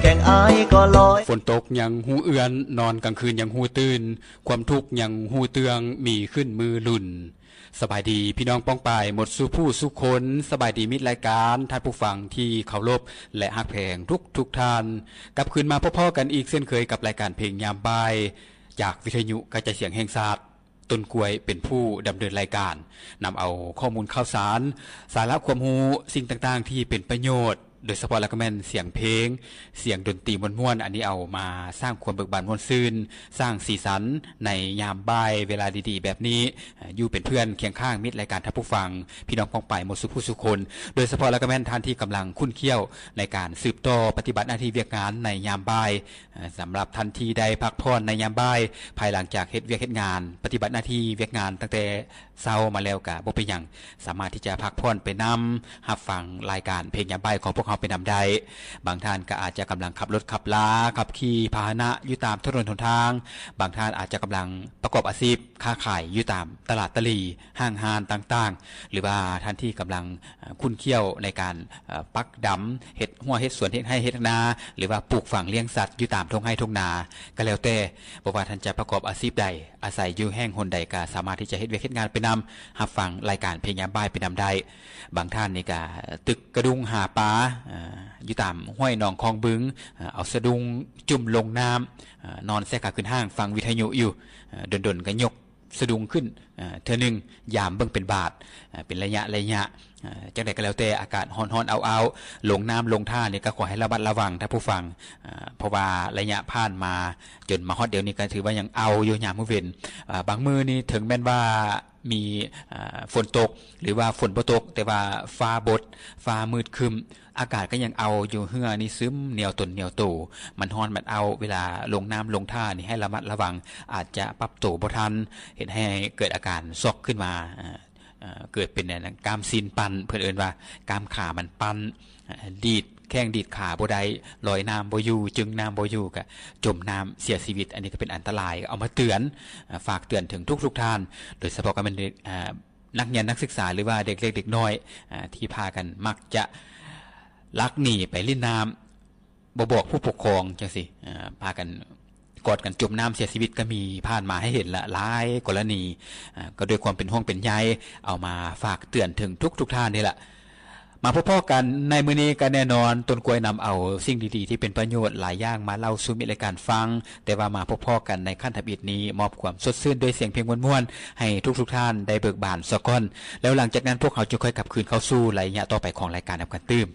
ແສງອ້າຍກໍລອຍ ຝົນຕົກຍັງຮູ້ເອື້ອນ, ນອນກາງຄືນຍັງຮູ້ຕື່ນ, ຄວາມທຸກຍັງຮູ້ເຕືອງ, ມີຂຶ້ນມືລຸນ. ສະບາຍດີພີ່ນ້ອງປ້ອງປາຍໝົດສູ່ຜູ້ສູ່ຄົນ, ສະບາຍດີມິດລາຍການ, ທ່ານຜູ້ຟັງທີ່ເຄົາລົບ ແລະ ຮັກແພງທຸກໆທ່ານ. ກັບຄືນມາພົບພໍ້ກັນອີກເຊັ່ນເຄີຍກັບລາຍການເພງຍາມບ່າຍ ຈາກວິທະຍຸກະຈາຍສຽງແຫ່ງຊາດ. ຕົ້ນກ້ວຍເປັນຜູ້ດຳເນີນລາຍການ, ນຳເອົາຂໍ້ມູນຂ່າວສານ, ສາລະຄວາມຮູ້, ສິ່ງຕ່າງໆທີ່ເປັນປະໂຫຍດ, ໂດຍສະເພາະແລ້ວກໍແມ່ນສຽງເພງ, ສຽງດົນຕີມ່ວນໆ, ອັນນີ້ເອົາມາສ້າງຄວາມເບີກບານມ່ວນຊື່ນ, ສ້າງສີສັນໃນຍາມບ່າຍເວລາດີໆແບບນີ້, ຢູ່ເປັນເພື່ອນຄຽງຂ້າງມິດລາຍການທ່ານຜູ້ຟັງ, ພີ່ນ້ອງປ້ອງປາຍໝົດສູ່ຜູ້ສູ່ຄົນ, ໂດຍສະເພາະແລ້ວກໍແມ່ນທ່ານທີ່ກຳລັງຂຸ້ນຂ້ຽວໃນການສືບຕໍ່ປະຕິບັດໜ້າທີ່ວຽກງານໃນຍາມບ່າຍ. ສຳລັບທ່ານທີ່ໄດ້ພັກຜ່ອນໃນຍາມບ່າຍ, ພາຍຫຼັງຈາກເຮັດວຽກເຮັດງານ, ປະຕິບັດໜ້າທີ່ວຽກງານຕັ້ງແຕ່ເຊົ້າມາແລ້ວກະບໍ່ເປັນຫຍັງ, ສາມາດທີ່ຈະພັກຜ່ອນໄປນຳ, ຮັບຟັງລາຍການເພງຍາມບ່າຍຂອງພວກເຮົາໄປນຳໄດ້. ບາງທ່ານກໍອາດຈະກຳລັງຂັບລົດຂັບລາ, ຂັບຂີ່ພາຫະນະຢູ່ຕາມຖະໜົນຫົນທາງ, ບາງທ່ານອາດຈະກຳລັງປະກອບອາຊີບຄ້າຂາຍຢູ່ຕາມຕະຫຼາດຕະຫຼີ່, ຫ້າງຮ້ານຕ່າງໆ, ຫຼືວ່າທ່ານທີ່ກຳລັງ ເອີ່ ຂຸ້ນຂ້ຽວໃນການ ເອີ່ ປັກດຳ, ເຮັດຮົ້ວເຮັດສວນ, ເຮັດໄຮ່ເຮັດນາ ຫຼືວ່າປູກຝັງລ້ຽງສັດຢູ່ຕາມທົ່ງໄຮ່ທົ່ງນາກໍແລ້ວແຕ່, ບໍ່ວ່າທ່ານຈະປະກອບອາຊີບໃດ, ອາໄສຢູ່ແຫ່ງຫົນໃດ ກໍສາມາດທີ່ຈະເຮັດວຽກເຮັດງານໄປນຳ, ຮັບຟັງລາຍການເພງຍາມບ່າຍໄປນຳໄດ້. ບາງທ່ານນີ້ກໍຕຶກກະດຸ້ງຫາປາ ເອີ່ ຢູ່ຕາມຫ້ວຍໜອງຄອງບຶງ, ເອົາສະດຸ້ງຈຸ່ມລົງນ້ຳ, ນອນແຊ່ຂາຂຶ້ນຫ້າງຟັງວິທະຍຸຢູ່, ດົນໆກໍຍົກ ສະດຸ້ງຂຶ້ນ ເອີ່ ເທື່ອໜຶ່ງ, ຢາມເບິ່ງເປັນບາດ ເປັນໄລຍະໄລຍະ. ຈັ່ງໃດກໍແລ້ວແຕ່, ອາກາດຮ້ອນໆ ອ້າວໆ ລົງນ້ຳລົງທ່ານີ້ກໍຂໍໃຫ້ລະມັດລະວັງທ່ານຜູ້ຟັງ, ເພາະວ່າໄລຍະຜ່ານມາຈົນມາຮອດດຽວນີ້ ກໍຖືວ່າຍັງອ້າວຢູ່ຍາມມື້ເວັນ. ບາງມື້ນີ້ເຖິງແມ່ນວ່າມີຝົນຕົກ ຫຼືວ່າຝົນບໍ່ຕົກ, ແຕ່ວ່າຟ້າບົດ, ຟ້າມືດຄຶ້ມ, ອາກາດກໍຍັງອ້າວຢູ່, ເຫື່ອນີ້ຊຶມໜຽວຕົນໜຽວໂຕ, ມັນຮ້ອນມັນອ້າວ. ເວລາລົງນ້ຳລົງທ່ານີ້ໃຫ້ລະມັດລະວັງ, ອາດຈະປັບໂຕບໍ່ທັນ, ເຮັດໃຫ້ເກີດອາການຊັອກຂຶ້ນມາ, ເອີ່ ເກີດເປັນອັນນັ້ນ ກ້າມຊີ້ນປັ້ນ, ເພິ່ນເອີ້ນວ່າກ້າມຂາມັນປັ້ນ, ດີດແຂ້ງດີດຂາບໍ່ໄດ້, ລອຍນ້ຳບໍ່ຢູ່, ຈຶງນ້ຳບໍ່ຢູ່, ກະຈົມນ້ຳເສຍຊີວິດ. ອັນນີ້ກໍເປັນອັນຕະລາຍ, ເອົາມາເຕືອນ, ຝາກເຕືອນເຖິງທຸກໆທ່ານ, ໂດຍສະເພາະກໍແມ່ນ ເອີ່ ນັກຮຽນນັກສຶກສາ ຫຼືວ່າເດັກເລັກເດັກນ້ອຍ ອາ ທີ່ພາກັນມັກຈະລັກໜີໄປຫຼິ້ນນ້ຳ ບໍ່ບອກຜູ້ປົກຄອງຈັ່ງຊີ້ ອາ ພາກັນກອດກັນຈົມນ້ຳເສຍຊີວິດກໍມີຜ່ານມາໃຫ້ເຫັນລະຫຼາຍກໍລະນີ. ອາ ກໍດ້ວຍຄວາມເປັນຫ່ວງເປັນໃຍ ເອົາມາຝາກເຕືອນເຖິງທຸກໆທ່ານນີ້ລະ. ມາພົບພໍ້ກັນໃນມື້ນີ້ກໍແນ່ນອນ ຕົ້ນກ້ວຍນຳເອົາສິ່ງດີໆທີ່ເປັນປະໂຫຍດຫຼາຍຢ່າງມາເລົ່າສູ່ມິດລາຍການຟັງ, ແຕ່ວ່າມາພົບພໍ້ກັນໃນຂັ້ນທຳອິດນີ້ ມອບຄວາມສົດຊື່ນດ້ວຍສຽງເພງມ່ວນໆ ໃຫ້ທຸກໆທ່ານໄດ້ເບີກບານສາກ່ອນ, ແລ້ວຫຼັງຈາກນັ້ນພວກເຮົາຈຶ່ງຄ່ອຍກັບຄືນເຂົ້າສູ່ໄລຍະຕໍ່ໄປຂອງລາຍການນຳກັນຕື່ມ.